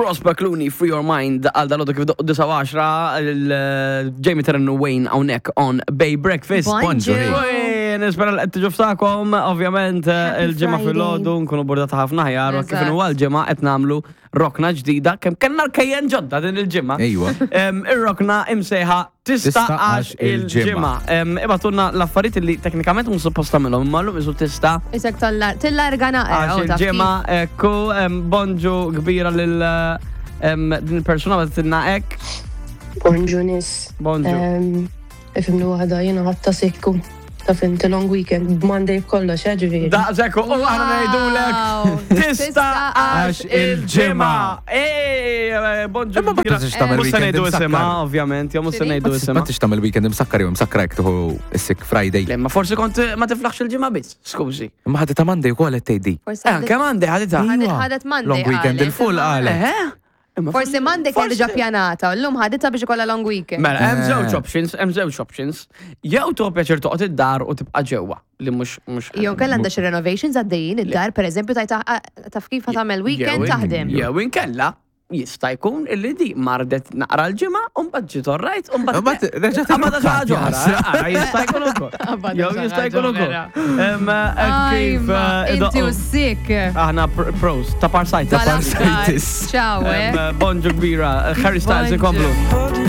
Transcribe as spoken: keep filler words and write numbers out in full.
Prosper Clooney, Free Your Mind, għal dal kif doqqu disgħa u għaxra, il-Jamie Terren u Wayne hawnhekk on Bay Breakfast. Bonġu. Ui, nispera li qed tiġu f'tagħkom, ovvjament Happy il-ġimgħa Friday. filgħodu nkunu burdata ħafna ħjar, u kif Eżatt. inhu għal-ġimgħa qed nagħmlu rokna ġdida, kemm kellna l-kejjen ġodda din il-ġimgħa. Ejwa. Em, Ir-rokna imsejħa Tista' Tista' għax għax il-ġimgħa. Em, Ibgħatulna l-affarijiet li teknikament mhux suppost tagħmilhom, imma llum isu tista' Isek tillarga naqra. għax oh, taf kif. il-ġimgħa. Ekku, em, bonġu kbira lil em, din il-persuna bagħtitilna hekk. Bonġu nies. Bonġu. Em, Ifhimni waħda, jiena ħadtha sikku. Taf inti long weekend, b'Monday b'kollox, eh, ġifieri. Daqshekk u aħna ngħidulek Wow. tista' għax il-ġimgħa. Ej, bonġu Imma ma kbira. tistax tagħmel Mhux se weekend ngħidu isimha, imsakkar. ovvjament, jew mhux se X'inhi? ngħidu Ma isimha. tistax tagħmel weekend imsakkar jew imsakkar jekk tieħu is-sick Friday. Le, ma forsi kont ma tiflaħx il-ġimgħa biss, skużi. Imma ħaditha Monday ukoll qed tgħiddi. Forsi Eh, ħadet- kemm għandi ħaditha? ħadet- Iva. ħadet Monday Long weekend qalet, il-full imma- qalet. Eh? Imma Forsi Monday kien diġà forsi- pjanata, u llum ħaditha biex ikollha long weekend. Mela, hemm Eh. żewġ options, hemm żewġ options. Jew tuħu pjaċir toqgħod id-dar u tibqa' ġewwa li mhux mhux Jew kellha għandha xi renovations għaddejjin id-dar, per eżempju, tajta taf kif ħa tagħmel weekend Jew in- taħdem. Jew inkella jista' jkun illi di mardet naqra l-ġimgħa u mbagħad ġiet orrajt u mbagħad Mbagħad reġgħet Qabad xi ħaġa oħra, jasra. eh, ara, jista' jkun ukoll. Jew jista' jkun ukoll. Em, eh, Kif eh, Inti u idoqqu. sick. Aħna pr- pros, ta' parsajt. Tal-aħħar. parsitis. Ciao, eh. Bonġu kbira, Harry Styles Bonġu. ikomplu.